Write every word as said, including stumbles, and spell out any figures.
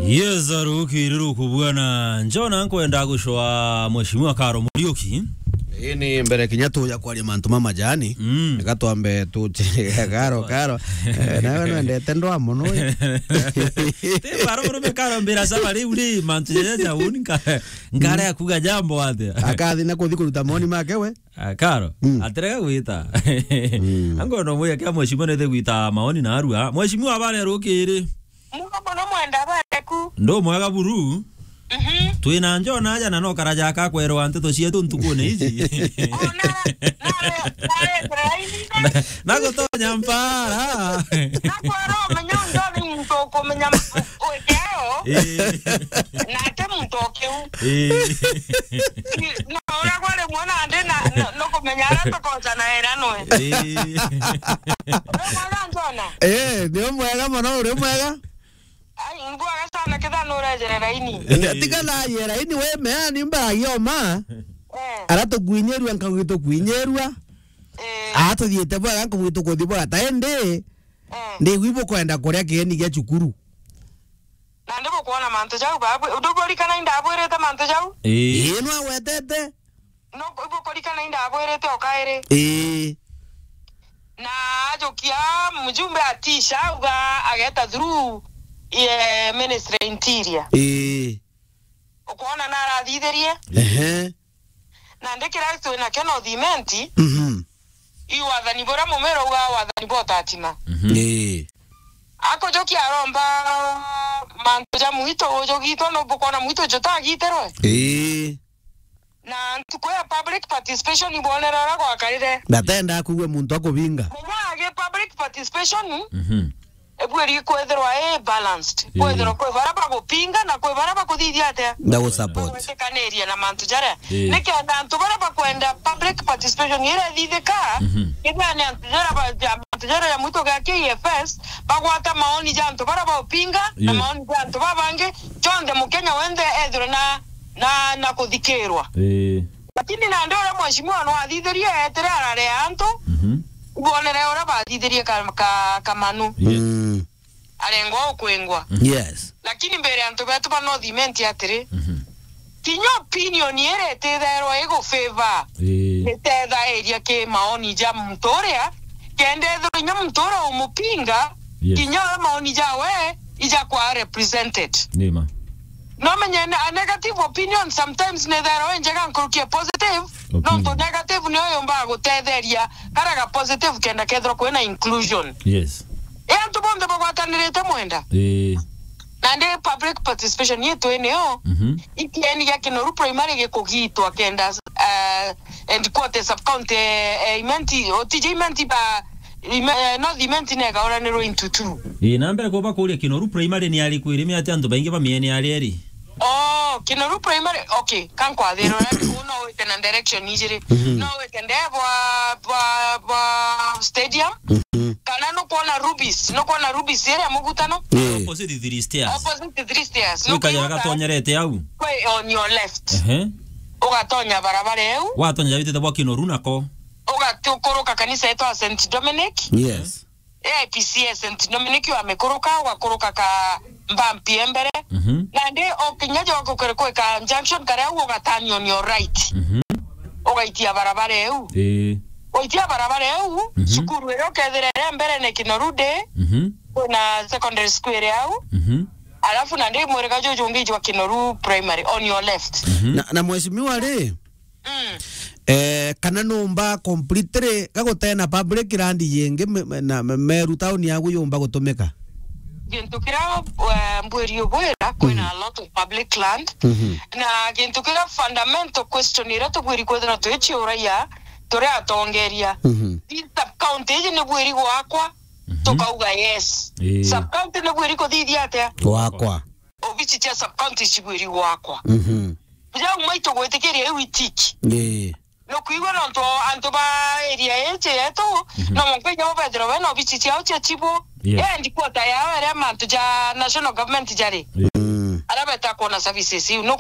Yes, arukiri rukubwana. Njona nkwenda gucwa Mheshimiwa Karo Muriuki. Ii ni mbere kinya tuja kwaria mantu ma majani. Mm. Reka twambe tuche Karo, Karo. Eh, nawe nwendete ndwa mono we. Ti baro murume Karo mbira saba riu ri mantu jaja ja uni nka-, nkare akuga jambo atia. Akathi na kuthi kuruta maoni make we. Ah, Karo, mm, atirega gwita. Mm. Ango no mwiya kia mheshimiwa nithe gwita maoni na arua. Mheshimiwa, habari ya rukiri? Mugo mono mwenda bareku. Ndo mwega buru. Mhm. Twina Njona aja na no karaja ka kwerwa nteto cietu ntukune ici. Ona, na, na, na, na, na gutonya mpara. Na kwera umenya ndo ni muntu ukumenya ma-, ujao. Eh. Na ati muntu ukiu. Eh. No, uria kwari mwana ndi na, no, no kumenya ara tukoca na era nwe. Eh. Uria mwana Njona. Eh, ni mwega mono, uri mwega? Ai, ngwa gasana kitha no urejere raini. Eh, tiga na ye raini we mea ni mbara yoma. Eh. Ara tukuinyerua nkagu tukuinyerua. Eh. Ara tuthiete bwega nkagu tukuthi bwega. Ta indi, eh, ndigwi bukwenda kuria kieni gia cukuru. Na ndi bukwona mantu jau babu. Ndukurikana indabwirite mantu jau? Ii. Ii, nwagwetete? No, ibukurikana indabwirite o kairi. Ii. Na ajukia mjumbe atisha, auga ageta through, eh, Ministry ya Interior. Ii. Ukwona narathithirie? Ehe. Na ndi kira twina kio no thimenti, mhm, i wathani buria mumero uga wathani bwa utatima. Mhm. Ii. Akujukia aromba mantu ja mwito, ujugitwe, no bukwona mwito jutagitirwe? Ii. Na ntuku ya public participation ibonere uria gwakarire. Ndatenda kugua muntu akubinga. Menya agi public participation, mhm, ebwiri kwithirwa i balanced. Ii. Kwithirwa kwi baria bagupinga na kwi baria bakuthithia atia? Ndagusupport. Bagwitikaniria na mantu jaria. Ii. Nikenda antu baria bakwenda public participation iria ithithika, mhm, kethira ni antu jaria ba-, ja-, antu jaria ja mwito gia K F S, bagwata maoni ja antu baria baupinga na, ii, maoni ja antu babangi, jonthe Mukenya wenthe ethirwe na, na, na kuthikirwa. Ii. Lakini nandi uria mheshimiwa no athithirie etire ararea antu, mhm, ibonere uria bathithirie ka, ka, Kamanu. Yes. Mm. Arengwa ukwingwa. Mhm. Yes. Lakini mbere antu betu ba North Imenti atiri, mhm, kinya opinion iria ititherwa igu favor, ii, itethairia ki maoni ja muntu uria, kenda ethirwa inya muntu uria umupinga, yes, kinya we maoni jawe ijakwa represented. Nima. No menye ne-, a negative opinion sometimes nitherwa injega nkuruki a positive, opinion. Nontu negative niyo yumbaga gutetheria karia ga positive kenda kethirwa kwina inclusion. Yes. E antu bonthe bagwatanirite mwenda. Ii. Na ndi public participation yetu ene yo, mhm, ikieni gia Kinoru Primary gikugitwa kenda, eh, and quote sub county, eh, Imenti, o T J Imenti ba, Ime-, eh, North Imenti nega uranirwo into two. Ii, na mbere kuba kuria Kinoru Primary ni ari kwiri miati antu baingi ba miene ari eri. Oh, Kinoru Primary, okay, kankwathira uria no wite na direction ijiri. Mhm. No wite nde bwa, bwa, bwa stadium. Mhm. Kana nukwona Rubis, nukwona Rubis iria mugutano? Ii. Opposite Three Stairs. Opposite Three Stairs. Gwikagira nukwona gatonyerete au. Kwi on your left. Ehe. Ugatonya barabara eu. Watonya witite bwa Kinoru nako. Ugatukuruka kanisa yetu ya Saint Dominic. Yes. A I P C A Saint Dominic wamikuruka, ugakuruka ka mbampi e mbere. Mhm. Nandi o kinya jwa kukere kwika junction karia au ugatani on your right. Mhm. Ugaitia barabara eu. Ii. Waitia barabara eu, mhm, cukuru iria ukethira iri mbere ni Kinoru Day, mhm, kwina secondary school iri au. Mhm. Alafu nandi mwirika juju ungi jwa Kinoru Primary on your left. Mhm. Na, na mheshimiwa ri, mm, eh, kana numba completely gagutena public land yingi me-, me-, na me-, Meru town yagu yumba gutumika? Gintu kiria, eh, mbwiri ubwira, kwina, mhm, a lot of public land. Mhm. Na gintu kiria fundamental question iria tubwiri kwithira tuiciuragia turi atongeria. Mhm. Ii sub county iji ni bwiri gwakwa, mhm, tukauga yes. Ii. Sub county ni bwiri kuthithia atia? Gwakwa. Obici cia sub county cibwiri gwakwa. Mhm. Jau maitu gwitikiria iu itiki. Ii. Nukwigua nontu antu ba area iji yetu, mhm, no mwanka inya bethirwa bena obici ciao cia chibu. Yes. Endi quarter yao iria mantu ja national government jari. Mm. Aria beta kuona services iu. Nuku-